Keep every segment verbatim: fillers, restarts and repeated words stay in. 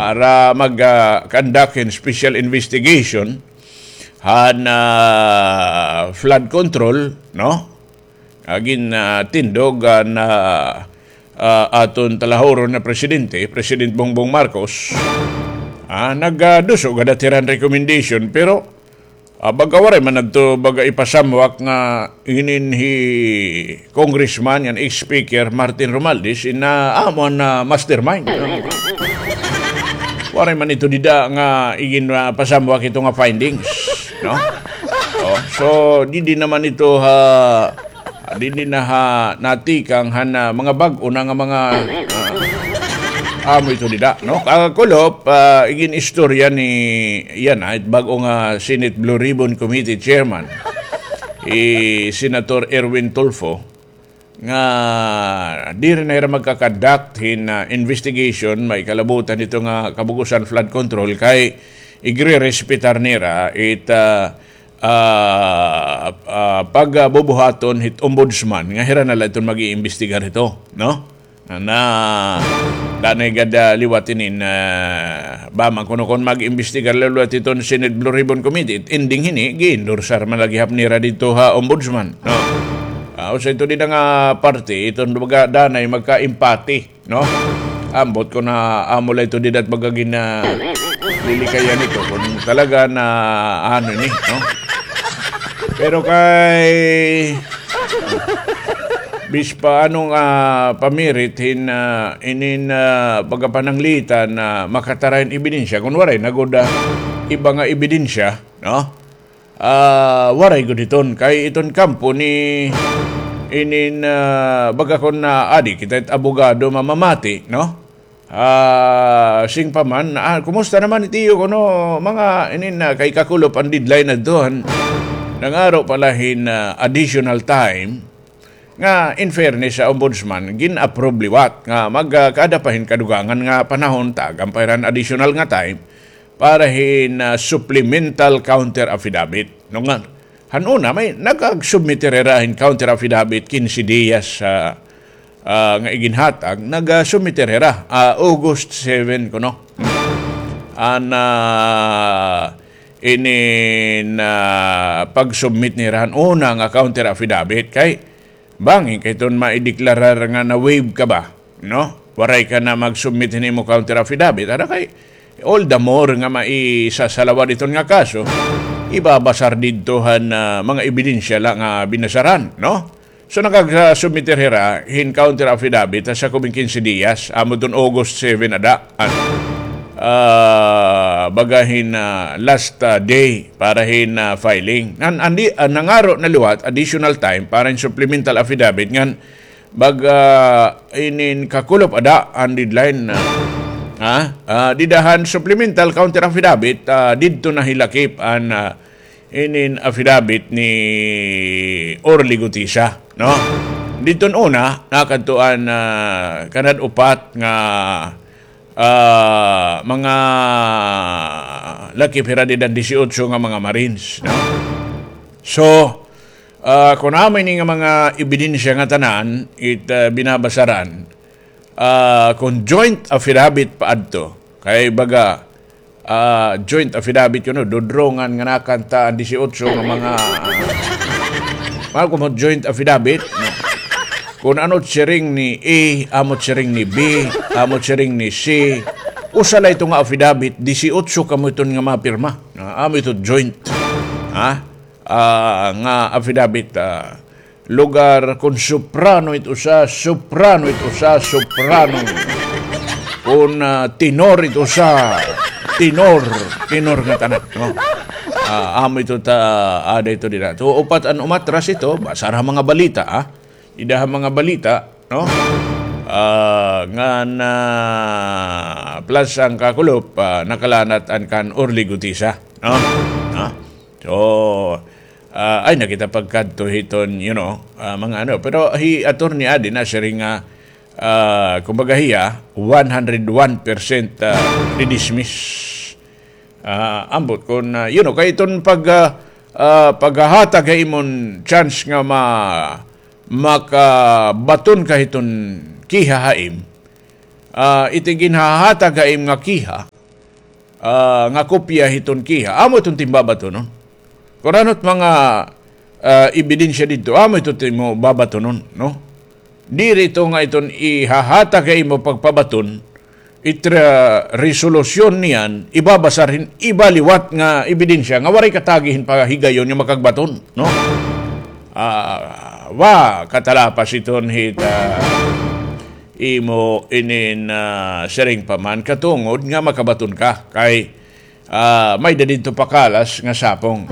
para mag, ah, conduct hin special investigation han, ah, flood control, no? Agin, ah, tindog, ah, na, ah, aton talahuron nga presidente, President Bongbong Marcos, ah, nag, ah, duso gad hiran recommendation, pero ah, baga waray man adto baga ipasamwak nga inin hi Congressman ngan ex-speaker Martin Romualdez in, ah, amo an, ah, mastermind. Waray man ito dida nga igin, ah, pasamwak ito nga findings, no? Oh, so, didi naman ito ha, didi na ha natikang han, ah, mga bag-o na nga mga, ah, amo ito dida, no? Kakulop, ah, igin istorya ni, yana, it bag-o nga Senate Blue Ribbon Committee Chairman, hi Senator Erwin Tulfo, nga diri na hira magka-conduct hin, ah, investigation, maikalabutan hito nga kabug-osan flood control kay igrerespetar nira it, ah, ah, ah, pagbubuhaton hit ombudsman nga hira na la iton mag-iimbestigar hito, no? Na, danay gad, ah, liwat inin, ah, ba man kuno kon mag-imbestigar la liwat iton Senate Blue Ribbon Committee, ending hini, gi-endorsar man la gihap nira didto ha ombudsman, no? Ah, usa ito dida nga parte, iton baga danay magka-empathy, no? Ambot kon amo la ito dida it baga gin, ah, lilikayan ito, kon talaga na, ano ini, no? Pero kay Bispa ano nga pamirit hin, ah, inin, ah, pagkapananglitan na makatara hin ebidensya, kon waray na gud, ah, iba nga ebidensya, no? Ah, waray gud iton, kay iton kampo ni inin, ah, baga kon, ah, adi kita it abogado mamamati, no? Ah, sing pa man, ah, kumusta naman it iyo kuno mga inin, ah, kay kakulop an deadline adto han nangaro pa la hin, ah, additional time nga in fairness sa ombudsman gin-approve liwat nga magkada pa hin kadugangan nga panahon, tagan pa hira hin additional nga time para hin, ah, supplemental counter affidavit. No nga, han una, may nag-submit hira hin counter affidavit, kinse diyas, ah, ah, nga iginhatag, nag-submit hira, ah, August seven kuno. An, ah, inin, ah, pag-submit nira han una nga counter affidavit kay bangin kay iton maideklarar nga na-waive ka ba, no? Waray ka na mag-submit hin imo counter affidavit. Ada kay, all the more nga maisasalawad iton nga kaso, ibabasar didto han, ah, mga ebidensya la nga binasaran, no? So, nakag-submit hira hin counter affidavit ha sakob hin kinse diyas, amo iton August seven ada. An, ah, baga hin, ah, last, ah, day para hin, ah, filing. Nan-, andi, ah, nangaro na liwat additional time para hin supplemental affidavit ngan baga inin kakulop ada an deadline, ah, ha? Ah, dida han supplemental counter affidavit, ah, didto na hilakip an, ah, inin affidavit ni Orly Gutisa, no? Didton una, nakadto an, ah, kanad upat nga ah, mga lakip hira dida han disiotso nga mga Marines, no? So, ah, kon amo ini nga mga ebidensya nga tanan, it, ah, binabasaran, ah, kon joint affidavit pa adto, kay baga, ah, joint affidavit kuno, dudrongan nga nakanta an disiotso nga mga, ah, mga kumot joint affidavit, no? Kon ano it siring ni A, amo it siring ni B, amo it siring ni C. Usa la ito nga affidavit, disiotso kamo iton nga mapirma. Ah, amo ito joint. Ha? Ah, nga affidavit, ah, lugar, kon soprano it usa, soprano it usa, soprano. Kon, ah, tenor it usa, tenor, tenor nga tanan, no? Ah, amo ito ta, ada ito dida. So, upat an umatras ito, basar ha mga balita, ah. Dida ha mga balita, no? Ah, ngan, ah, plus an kakulop, ah, nakalanat an kan Orly Gutisa, no? Ah, so, ah, ay, nakita pagkadto hiton, you know, ah, mga ano. Pero hi attorney adi nasiring nga, ah, kumbaga hiya, one hundred one percent, ah, didismiss. Ah, ambot kon, ah, you know, kay iton pag, ah, ah, paghahatag ha imo hin chance nga ma-, makabaton ka hiton kiha ha im, Ah, it ginhahatag ha im nga kiha, ah, nga kopya hiton kiha, amo iton it im babatonon. Kun ano it mga, ah, ebidensya didto, amo ito it imo babatonon, no? Diri ito nga iton ihahatag ha imo pagpabaton, it, ah, resolusyon niyan, ibabasar hin iba liwat nga ebidensya nga waray katagi hin pahigayon nga makagbaton, no? Ah, wa katalapas iton hit, ah, imo inin, ah, siring pa man katungod nga makabaton ka. Kay, ah, may-ada didto pakalas nga sapong.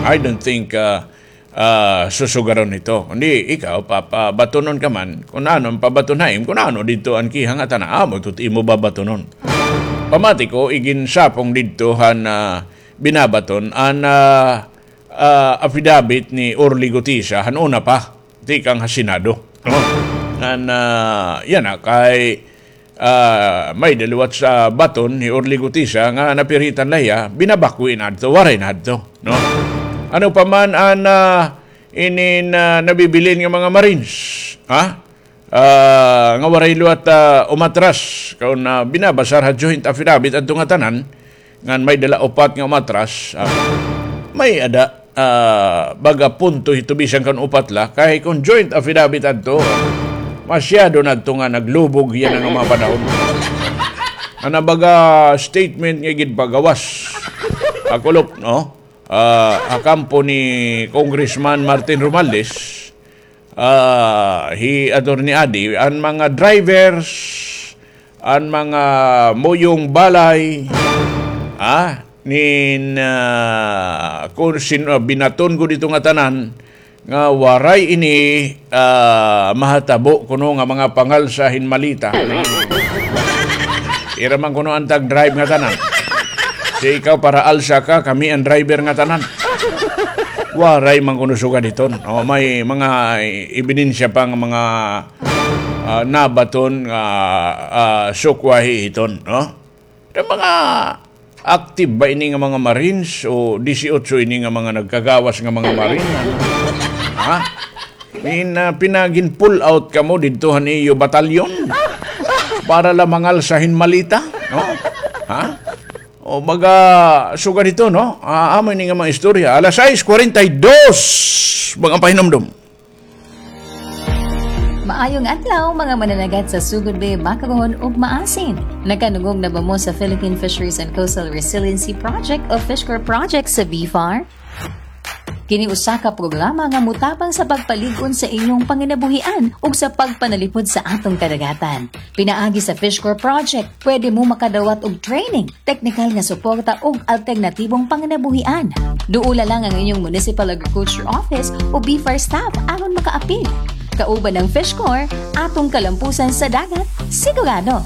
I don't think, ah, ah, susugaron ito. Kundi ikaw, papabatonon ka man, kun ano an pabaton ha im, kun ano didto an kiha nga tanan, amo ito it imo babatonon. Pamati ko, iginsapong didto han, ah, binabaton, an, ah, ah, affidavit ni Orly Gutisa, han una pa, tikang ha Senado, no? Ngan, ah, yana, kay, ah, may-ada liwat sa baton ni Orly Gutisa nga napiritan la hiya, binabakwi na adto, waray na adto, no? Ano pa man an, ah, inin, ah, nabibilin nga mga Marines, ha? Ah, nga waray liwat, ah, umatras, kun, ah, binabasar ha joint affidavit adto nga tanan, ngan may-ada la upat nga umatras, ah, may-ada, ah, baga punto hito bisan kan upat la, kay kun joint affidavit adto, masyado na adto nga naglubog yana nga mga panahon. Ana baga statement nga ginpagawas ha kulop, no? Ah, ha kampo ni Congressman Martin Romualdez, ah, hi Attorney Adi, an mga drivers, an mga muyong balay, ah, nin, ah, kun sin-, ah, binaton ko didto nga tanan, nga waray ini, ah, mahatabo kuno nga mga pangalsa hin maleta. Ira man kuno an tag-drive nga tanan. Si ikaw para alsa ka, kami an driver nga tanan. Waray man kuno sugad hiton. O, may mga ebidensya pa nga mga, ah, nabaton nga, ah, sukwahi hiton, no? Nga mga active ba ini nga mga Marines o disiotso ini nga mga nagkagawas nga mga Marine? Ha? Nin, ah, pinagin-pull out kamo didto han iyo batalyon para la mangalsa hin maleta, no? Ha? O, baga, sugad hito, no? Ah, amo ini nga mga istorya. Alas sais kwarenta y dos, mga pahinumdom. Maayong adlaw, mga mananagat sa Sugod Bay, Makabuhon ug Maasin. Nakanungog na ba mo sa Philippine Fisheries and Coastal Resiliency Project o FishCorps Project sa BFAR? Kini usa ka programa nga motabang sa pagpalig-on sa inyong panginabuhian ug sa pagpanalipod sa atong kadagatan. Pinaagi sa FishCorps Project, pwede mo makadawat og training, teknikal nga suporta ug alternatibong panginabuhian. Duola lang ang inyong Municipal Agriculture Office o BFAR staff aron makaapil. Kauban ang FishCorps, atong kalampusan sa dagat, sigurado.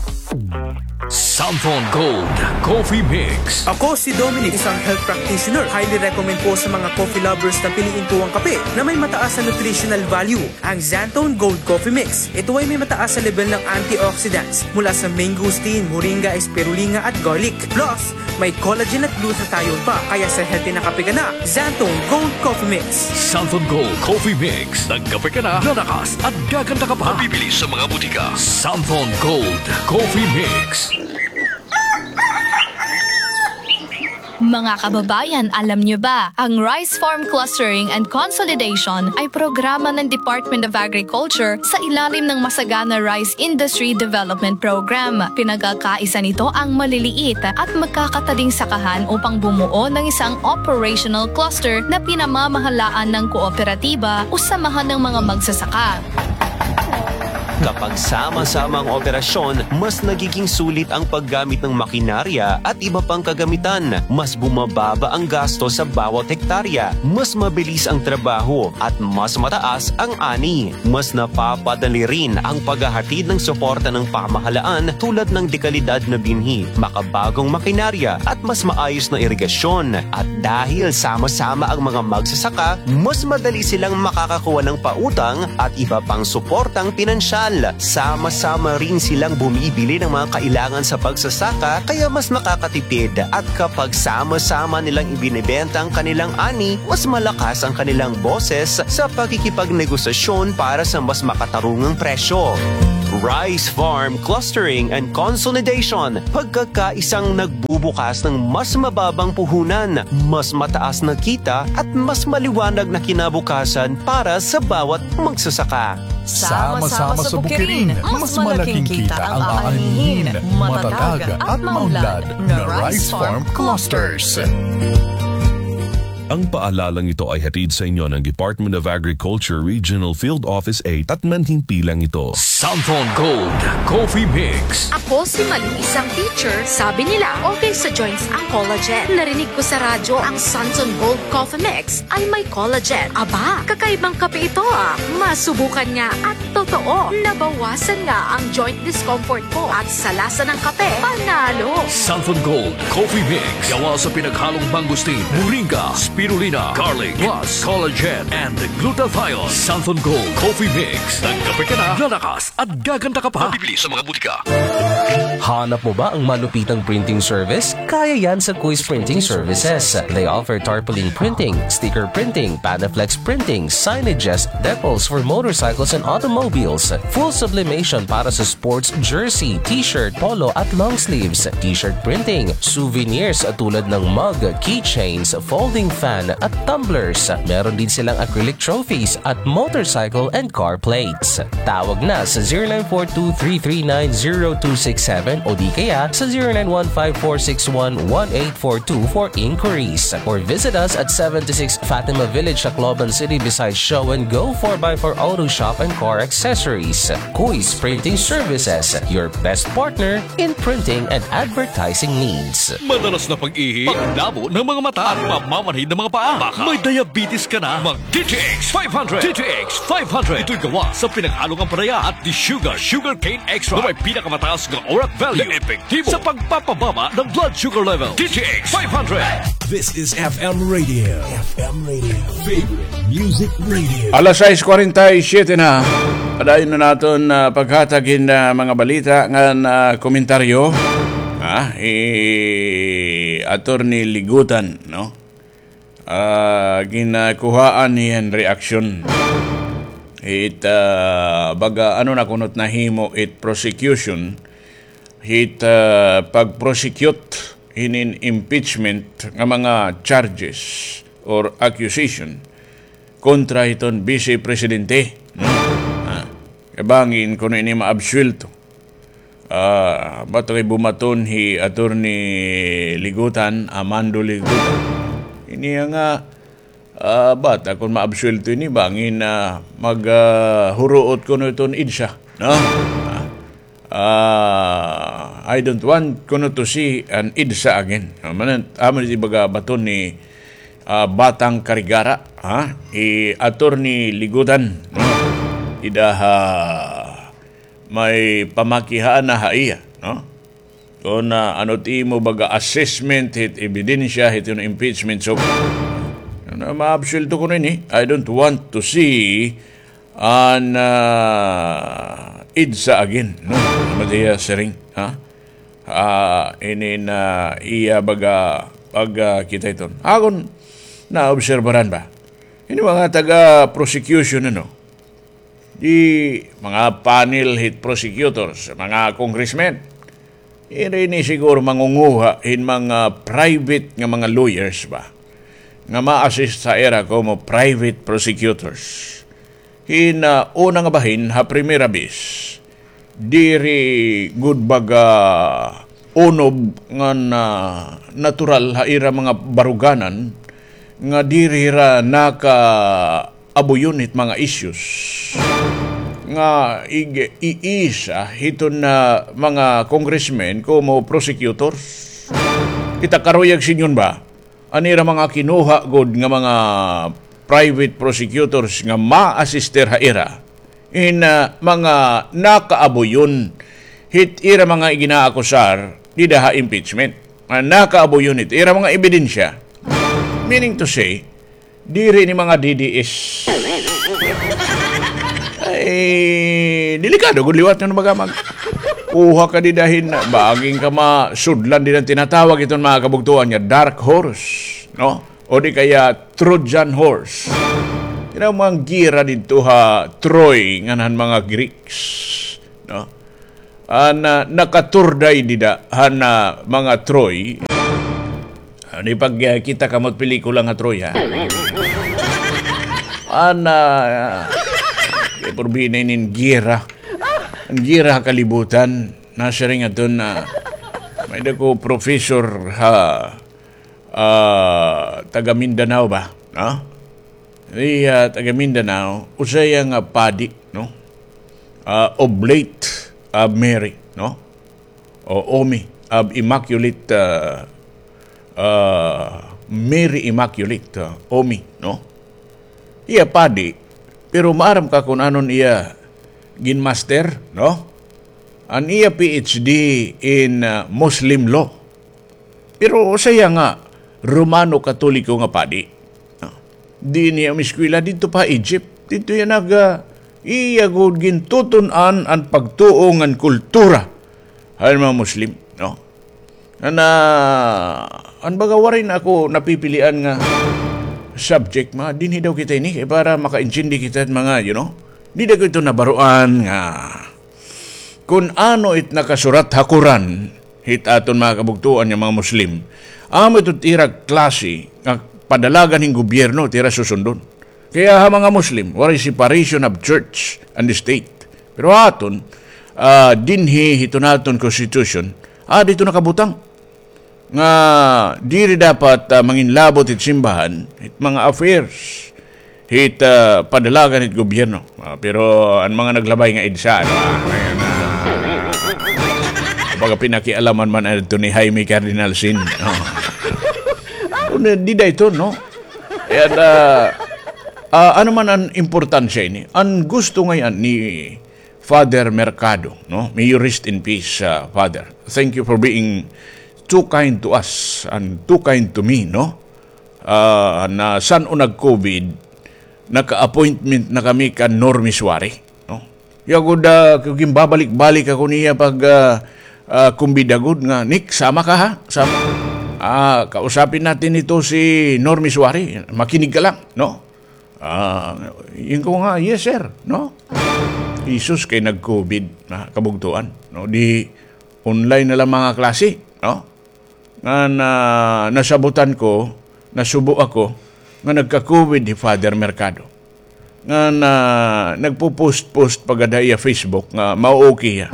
Santon Gold Coffee Mix. Ako si Dominic, isang health practitioner. Highly recommend po sa mga coffee lovers na piliin po ang kape na may mataas na nutritional value. Ang Xanthone Gold Coffee Mix. Ito ay may mataas na level ng antioxidants mula sa mangosteen, moringa, spirulina at garlic. Plus, may collagen at glutathione pa. Kaya sa healthy na kape ka na, Xanthone Gold Coffee Mix. Xanthone Gold Coffee Mix. Nagkape ka na, lalakas at gaganda ka pa. Mabibili sa mga butika. Xanthone Gold Coffee Mix. Mga kababayan, alam niyo ba, ang Rice Farm Clustering and Consolidation ay programa ng Department of Agriculture sa ilalim ng Masagana Rice Industry Development Program. Pinagkakaisa nito ang maliliit at magkakatading sakahan upang bumuo ng isang operational cluster na pinamamahalaan ng kooperatiba o samahan ng mga magsasaka. Kapag sama-sama ang operasyon, mas nagiging sulit ang paggamit ng makinarya at iba pang kagamitan. Mas bumababa ang gasto sa bawat hektarya, mas mabilis ang trabaho, at mas mataas ang ani. Mas napapadali rin ang paghahatid ng suporta ng pamahalaan tulad ng dekalidad na binhi, makabagong makinarya, at mas maayos na irigasyon. At dahil sama-sama ang mga magsasaka, mas madali silang makakakuha ng pautang at iba pang suportang pinansyal. Sama-sama rin silang bumibili ng mga kailangan sa pagsasaka, kaya mas nakakatipid. At kapag sama-sama nilang ibinebenta ang kanilang ani, mas malakas ang kanilang boses sa pakikipagnegosasyon para sa mas makatarungang presyo. Rice Farm Clustering and Consolidation. Pagkakaisang nagbubukas ng mas mababang puhunan, mas mataas na kita at mas maliwanag na kinabukasan para sa bawat magsasaka. Sama-sama sa bukirin, mas malaking kita ang aanhin. Matatag at maunlad na Rice Farm Clusters. Ang paalalang ito ay hatid sa inyo ng Department of Agriculture Regional Field Office eight at manhimpilang ito. Santon Gold Coffee Mix. Ako si Maling, isang teacher. Sabi nila, okay sa joints ang collagen. Narinig ko sa radyo ang Santon Gold Coffee Mix ay may collagen. Aba, kakaibang kape ito ah. Masubukan nga at totoo, nabawasan nga ang joint discomfort ko at sa lasa ng kape, panalo. Santon Gold Coffee Mix. Gawa sa pinaghalong mangosteen, moringa, spirulina, garlic, plus collagen and glutathione. Santon Gold Coffee Mix. Nagkape ka na, lalakas at gaganda ka pa. Mabibili sa mga butika. Hanap mo ba ang malupitang printing service? Kaya yan sa Kuis Printing Services. They offer tarpaulin printing, sticker printing, Panaflex printing, signages, decals for motorcycles and automobiles, full sublimation para sa sports jersey, t-shirt, polo at long sleeves, t-shirt printing, souvenirs tulad ng mug, keychains, folding fan at tumblers. Meron din silang acrylic trophies at motorcycle and car plates. Tawag na sa zero nine four two three three nine zero two six seven o di kaya sa zero nine one five four six one one eight four two for inquiries. Or visit us at seventy-six Fatima Village, Tacloban City, beside Show and Go four by four Auto Shop and Car Accessories. Kuis Printing Services, your best partner in printing and advertising needs. Madalas na pag-ihi, paglabo ng mga mata, at mamamanhid ng mga paa. Baka may diabetes ka na. Mag D T X five hundred. D T X five hundred. Ito'y gawa sa pinaghalong ampalaya at desugar, sugarcane extract, na may pinakamataas na orat value na epektibo sa pagpapababa ng blood sugar level. D T X five hundred. This is F M Radio. F M Radio. Favorite Music Radio. Alas sais kwarenta y siyete na. Padayon na naton, ah, paghatag hin, ah, mga balita ngan, ah, komentaryo. Ah, hi Attorney Ligutan, no? Ah, ginkuhaan niya hin reaksyon. It, ah, baga, ano na kuno it nahimo it prosecution, hit, ah, pag-prosecute hinin impeachment nga mga charges or accusation kontra hiton Vice Presidente, no? Ah, kay bangin kuno ini maabsuwelto. Ah, bato kay bumaton hi Attorney Ligutan, Amando Ligutan. Ini nga, ah, bata kon maabsuwelto ini, bangin, ah, mag, ah, huruot kuno iton EDSA, no? Ah, ah, I don't want kuno to see an EDSA again. Amo na, amo ni baga baton ni, ah, Batang Carigara, ha? Hi Attorney Ligutan, no? Ida ha may pamakihaan na ha iya, no? Kon, ah, ano it imo baga assessment hit ebidensya hit hiton impeachment, so, ano, maabsuwelto kuno ini. I don't want to see an, ah, EDSA again, no? Amo it iya siring, ha? Ah, ini na iya baga pag, ah, kita iton. Akon naobserbaran ba? Ini mga taga-prosecution, ano? Di mga panel hit prosecutors, mga congressmen. Iri ini siguro mangunguha hin mga private nga mga lawyers ba, nga ma-assist ha ira komo private prosecutors. Hin, ah, una nga bahin ha primera bes, diri gud baga unob ngan natural ha ira mga baruganan nga diri hira nakaabuyon hit mga issues nga ig-, iisa hiton, ah, mga congressmen komo prosecutors. Kita karuyag sidngon ba? An ira mga kinuha gud nga mga private prosecutors nga ma-assister ha ira hin, ah, mga nakaabuyon hit ira mga iginaakusar dida ha impeachment. Nga nakaabuyon hit ira mga ebidensya. Meaning to say, diri ini mga D D S. Ay, delikado gud liwat nga baga mag-, kuha ka dida hin, bangin ka masudlan dida han tinatawag iton mga kabugtoan nga dark horse, no? O di kaya Trojan horse. Kay mga gera didto ha Troy ngan han mga Greeks. no? An, ah, nakaturday dida han, ah, mga Troy. Ano, ipagkita kamo hit pelikula nga Troy, ha? An, ah, kay porbida ini hin giyera. An giyera ha kalibutan. Nasiring adto nga may-ada ko professor ha, ah, taga Mindanao ba? No? Iya, taga Mindanao, usa hiya nga padi, no? Ah, Oblate of Mary, no? O Omi, of Immaculate, ah, ah, Mary Immaculate, ah, Omi, no? Iya padi, pero maaram ka kon ano an iya ginmaster, no? An iya P H D in, ah, Muslim law. Pero usa hiya nga Romano Katoliko nga padi. Ah, dinhi an eskwela didto pa Egypt. Didto hiya nag, ah, iya gud gintutun-an an pagtuo ngan kultura han mga Muslim, no? An, ah, an baga waray na ako napipilian nga subject, ma, dinhi daw kita ini, kay para makaintindi kita mga, you know, dida ko ito nabaroan nga kon ano it nakasurat ha Quran, hit aton mga kabugtoan nga mga Muslim, amo ito it ira klase nga padalagan hin gobyerno it ira susundon. Kaya ha mga Muslim, waray separation of church and state. Pero ha aton, ah, dinhi hito naton constitution, ah, didto nakabutang nga diri dapat, ah, manginlabot hit simbahan hit mga affairs hit, ah, padalagan hit gobyerno. Ah, pero an mga naglabay nga EDSA, ano, ah, ayan, ah, baga pinakialaman man adto ni Jaime Cardinal Sin, no? Kundi dida ito, no? Kay, ah, ah, ano man an importansya ini? An gusto ngay-an ni Father Mercado, no? May you rest in peace, ah, Father. Thank you for being too kind to us and too kind to me, no? Ah, na san-o nag-COVID, naka-appointment na kami kan Normis Wari, no? Iya gud, ah, ginbabalik-balik ako niya pag, ah, ah, kumbida gud nga, "Nick, sama ka, ha? Sama." Ah, kausapin natin ito si Normis Wari. Makinig ka lang, no? Ah, ingon ko nga, "Yes, sir," no? Hesus, kay nag-COVID na kabugtoan, no? Di online na lang mga klase, no? Ngan nasabutan ko, nasubo ako, nga nagka-COVID hi Father Mercado. Ngan nagpo-post-post pa gad ha iya Facebook nga mao-okay hiya.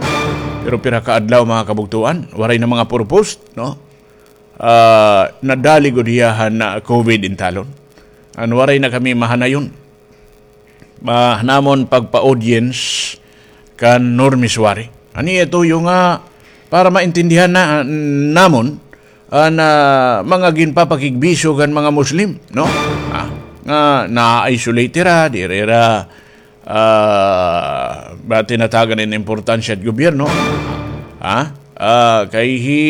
Pero pira ka adlaw, mga kabugtoan, waray na mga puro post, no? Ah, nadali gud hiya han COVID intalon. Ngan waray na kami mahanayon. Ah, namon pagpa-audience kan Normis Wari. An iya tuyo nga para maintindihan na, namon an, ah, mga ginpapakigbisog han mga Muslim, no? Ah, nga na-isolate hira, diri hira, ah, ba tinatagan hin importansya it gobyerno? Ha? Ah, kay hi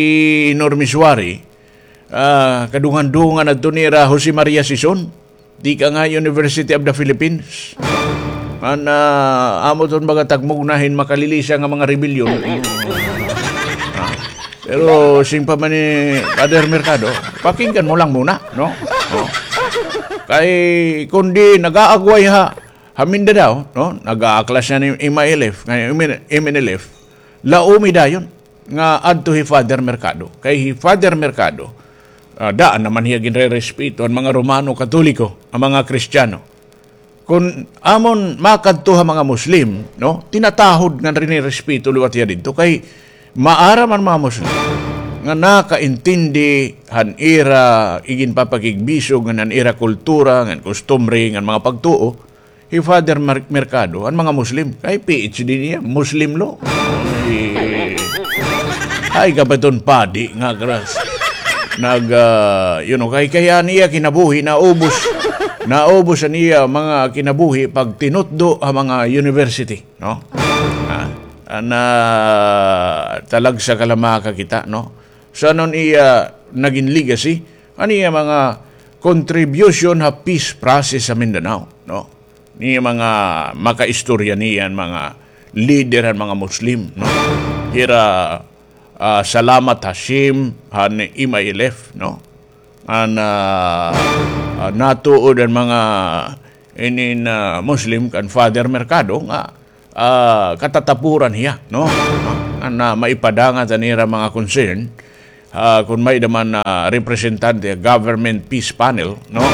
Normis Wari, ah, kadungan-dungan adto nira Jose Maria Sison. Tikang ha University of the Philippines. An, ah, amo iton baga tagmugna hin makalilisa nga mga rebelyon. Ah, pero siring pa man ni Father Mercado, pakinggan mo lang muna, no? No? Kay kundi nag-aagway ha, ha Mindanao, no? Nag-aaklas na ni M I L F, nga M N L F. Laomi dayon nga adto hi Father Mercado. Kay hi Father Mercado, ah, daan naman hiya ginrerespeto an mga Romano Katoliko, an mga Kristiyano. Kon amon makadto ha mga Muslim, no, tinatahod ngan rinirespeto liwat hiya didto kay maaram an mga Muslim nga nakaintindi han ira iginpapakigbisog ngan han ira kultura ngan kustumbre ngan mga pagtuo. Hi Father Mer-, Mercado, an mga Muslim, kay P H D niya, Muslim law. Ay, ay, kapiton padi nga kras. Nag, ah, you know, kay, kay an iya kinabuhi, naubos. Naubos an iya mga kinabuhi pagtinutdo ha mga university, no? Ah, an, ah, talagsa ka la makakita, no? San-o an iya nagin legacy, an iya mga contribution ha peace process sa Mindanao, no? Ni mga makaistorya niyan, mga lider han mga Muslim, no? Hira, ah, Salamat Hashim han M I L F, no? An, ah, ah, natuod an mga inin, ah, Muslim kan Father Mercado nga ah, katatapuran hiya, no? An, ah, maipadangat an ira mga concern, ah, kon may-ada man, ah, representante, government peace panel, no?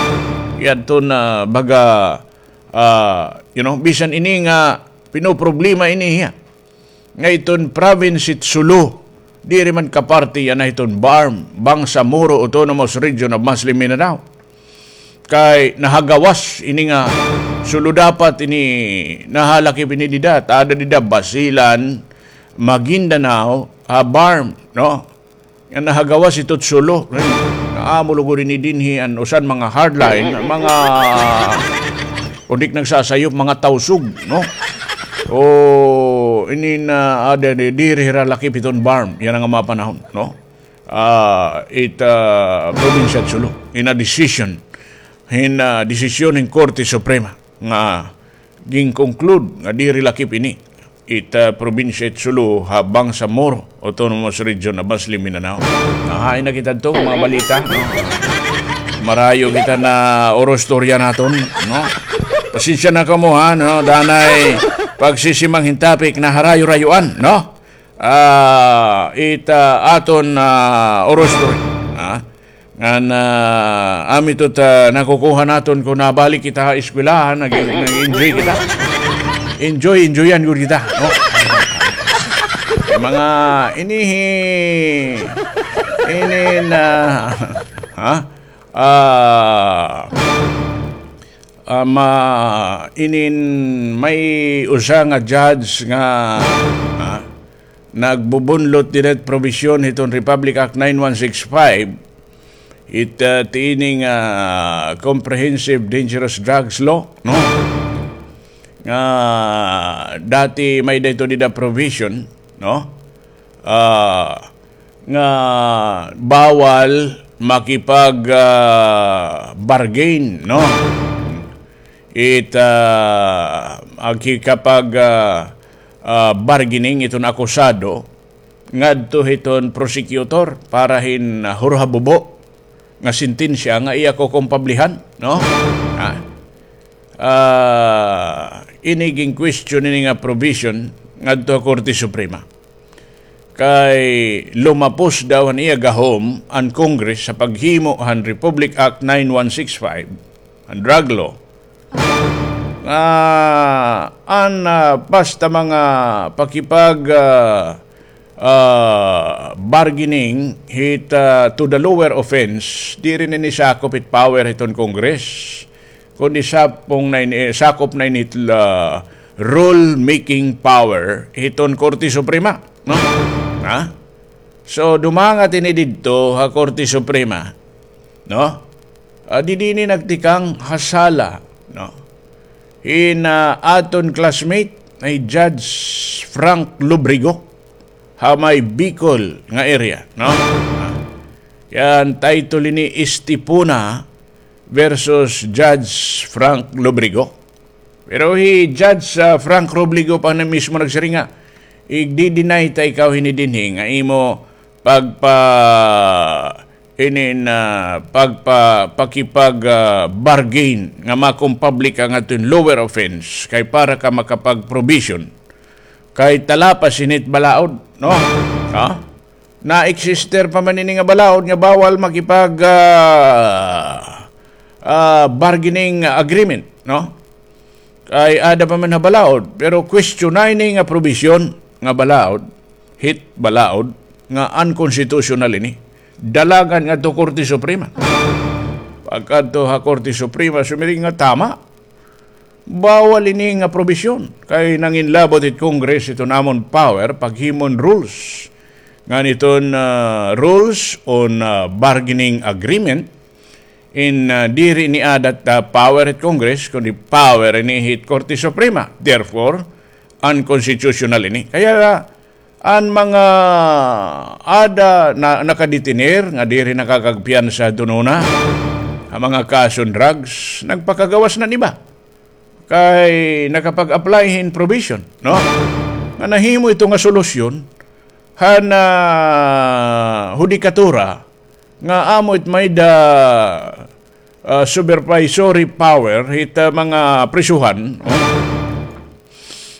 Yadton, ah, baga, ah, you know, bisan ini nga pinoproblema ini hiya nga iton province it Sulu, diri man kaparti yana hiton BARMM, Bangsamoro Autonomous Region of Muslim Mindanao. Kay nahagawas ini nga Sulu, dapat ini nahalakip ini dida, aada dida Basilan, Maguindanao, ha BARMM, no? Nga nahagawas ito Sulu. Nga amo lugod ini dinhi an usan mga hardline, mga, kundi nagsasayop, mga Tausug, no? O, ini na, aada, di, diri hira lakip hiton BARMM yana nga mga panahon, no? Ah, it, ah, probinsya it Sulu, in a decision, in, ah, desisyon hin Korte Suprema nga gin-conclude nga diri lakip ini it, ah, probinsya it Sulu ha Bangsamoro Autonomous Region ha Muslim Mindanao. Nahain na kita adto, mga balita, no? Marayo kita na oro istorya naton, no? Pasensya na kamo, ha, no? Danay pagsisimang hin topic na harayo-rayoan, no? Ah, it, ah, aton, ah, oro istorya, ha? Ngan, ah, amo ito it nakukuha naton kon nabalik kita ha eskwelahan, nag-, nag-enjoy kita. Enjoy, enjoyan gud kita, no? Mga inihi, ini na, ha? Ah, ah, ma-, inin may usa nga judge nga, ah, nagbubunlot dida it provision hiton Republic Act nine one six five, it, ah, tiining, ah, Comprehensive Dangerous Drugs Law, no? Nga dati may-ada ito dida provision, no? Ah, nga bawal makipag, ah, bargain, no? It, ah, makikapag, ah, ah, bargaining iton akusado ngadto hiton prosecutor para hin, ah, hurhabubo nga sentensya nga iya kukumpablihan, no? Ah. Ah, ini gin-question ini nga provision ngadto ha Korte Suprema. Kay lumapos daw han iya gahom an Congress sa paghimo han Republic Act nine one six five, an drug law, nga an, ah, basta mga pakipag, ah, ah, bargaining hit, ah, to the lower offense, diri na ini sakop hit power hiton Congress, kundi sapong na ini, sakop na ini hit, ah, rule-making power hiton Korte Suprema, no? Ha? So, dumangat ini didto ha Korte Suprema, no? Ah, didi ini nagtikang ha sala, no? Hin, ah, aton classmate, hi Judge Frank Lobrigo, ha may Bicol nga area, no? Ah, yan, title ini Estipona versus Judge Frank Lobrigo. Pero hi Judge, ah, Frank Lobrigo pa na mismo nagsiring nga, igdi-deny ta ikaw hini dinhi nga imo pagpa-, inin, ah, pagpa-, pakipag, ah, bargain nga makumpabli ka ngadto hin lower offense kay para ka makapag-provision. Kay talapas ini hit balaod, no? Ha? Na-exister pa man ini nga balaod nga bawal makipag, ah, ah, bargaining agreement, no? Kay aada pa man ha balaod, pero question na ini nga provision nga balaod, hit balaod, nga unconstitutional ini. Dalagan ngadto Korte Suprema. Pagkadto ha Korte Suprema, sumiring nga tama. Bawal ini nga probisyon kay nanginlabot it Congress hiton amon power paghimo hin rules ngan hiton, ah, rules on, ah, bargaining agreement. In, ah, diri ini aada it, ah, power hit Congress, kundi power ini hit Korte Suprema. Therefore, unconstitutional ini. Kaya, ah, an mga aada na, nakadetener nga diri nakakagpiyansa adton una ha mga kason drugs, nagpakagawas na hin iba. Kay nakapag-apply hin provision, no? Nga nahimo ito nga solusyon han, ah, hudikatura nga amo it may-ada, ah, supervisory power hit, ah, mga prisuhan, no?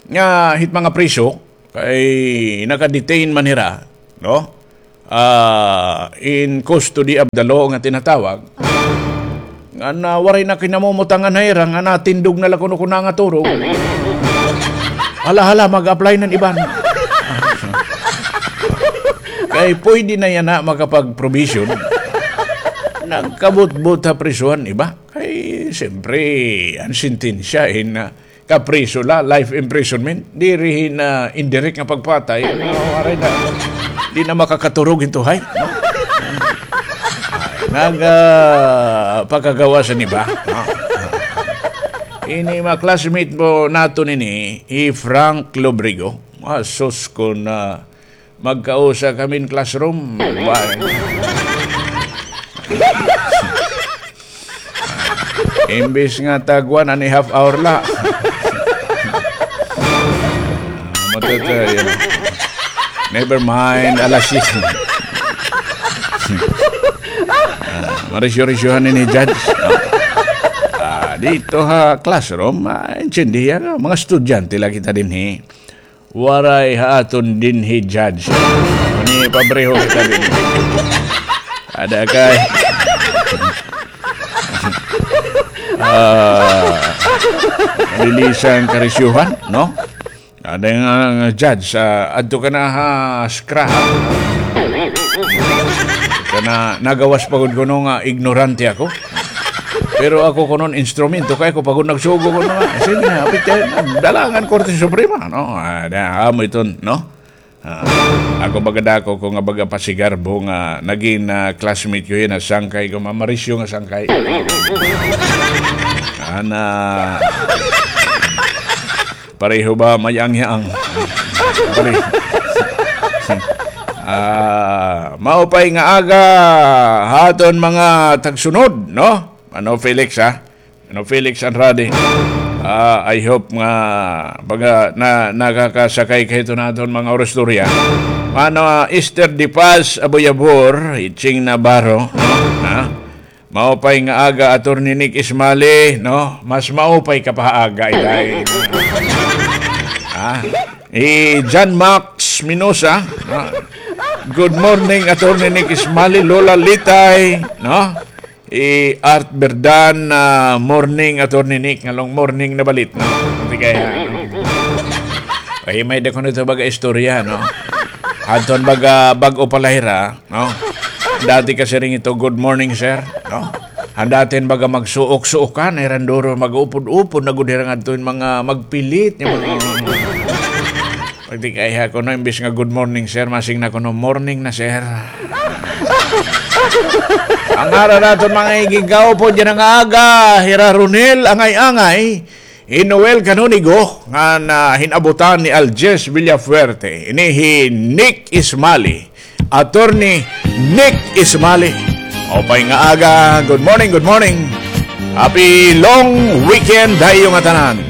nga hit mga priso, kay naka-detain man hira, no? Ah, in custody of the law nga tinatawag. Nga na waray na kinamumutangan ha ira, nga natindog na la kuno kun nangaturog. Hala, hala, mag-apply nan iban. Kay pwede na yana makapag-provision. Nagkabutbot ha prisuhan iba. Kay, siyempre, an sentensya in, ah, kapriso la, life imprisonment. Diri hin, ah, indirect nga pagpatay. Ano, aray na. Di na makakaturog hin tuhay, no? Ay, nag, ah, pakagawas an iba, no? Ini mga classmate mo naton ini, hi Frank Lobrigo. Ah, sus, kun, ah, magkausa kami hin classroom. Wa-, imbis nga tag one and a half hour la. Ah, matata-, yun. Never mind, alas siyete. Ah, marisyo-risyohan ini, Judge. Ah, dito ha classroom, ah, intindihan, mga estudyante la kita dinhi. Waray ha aton dinhi, Judge. Ni pabreho kita dinhi. Ada kay, ah, malilisang karisyuhan, no? Ada nga, nga, Judge, ah, adto ka na ha scrap. Kana nagawas pa gud kuno nga ignorante ako. Pero ako kuno instrumento, kay ako pa gud nagsugo kuno nga. Sige na, hapit kay dalangan Korte Suprema, no? Ah, da, amo iton, no? Ah, ako baga dako ko nga baga pasigarbo nga nagin, ah, classmate ko yana, sangkay ko, mamarisyo nga sangkay. Ana, pareho ba mayang-yang? Pareho. Ah, maupay nga aga ha aton mga tagsunod, no? Ano, Felix, ha? Ano, Felix Andrade? Ah, I hope nga baga na, nakakasakay ka hito naton mga orastorya. Mano, ah, Esther De Paz Aboyabor, Itching Navarro, no? Ha? Maupay nga aga, Attorney Nick Ismali, no? Mas maupay ka pa aga, Iday. Ha? Eh, John Max Minosa, no? Good morning, Attorney Nick Ismali, Lola Litay, no? Eh, Art Berdan, ah, morning, Attorney Nick, ngalong morning na balit, no? Hindi kaya, no? Ay, may da kuno ito baga istorya, no? Hadton baga bag-o pa la hira, no? Dati kasi rin ito, "Good morning, sir," no? An dati baga magsuok-suokan, ay randuro mag-upod-upod na gud hira ngadto hin mga magpilit, nga mga, pagtikayha kuno, imbis nga, "Good morning, sir," masing na kuno, "Morning na, sir." Ang ara naton mga igigkaupod yana nga aga, hira Ronel Angay-angay, hi Noel Canonigo, ngan hin-abutan ni Aljes Villafuerte, ini hi Nick Ismali, Attorney Nick Ismali. Maupay nga aga, good morning, good morning. Happy long weekend ha iyo ngatanan.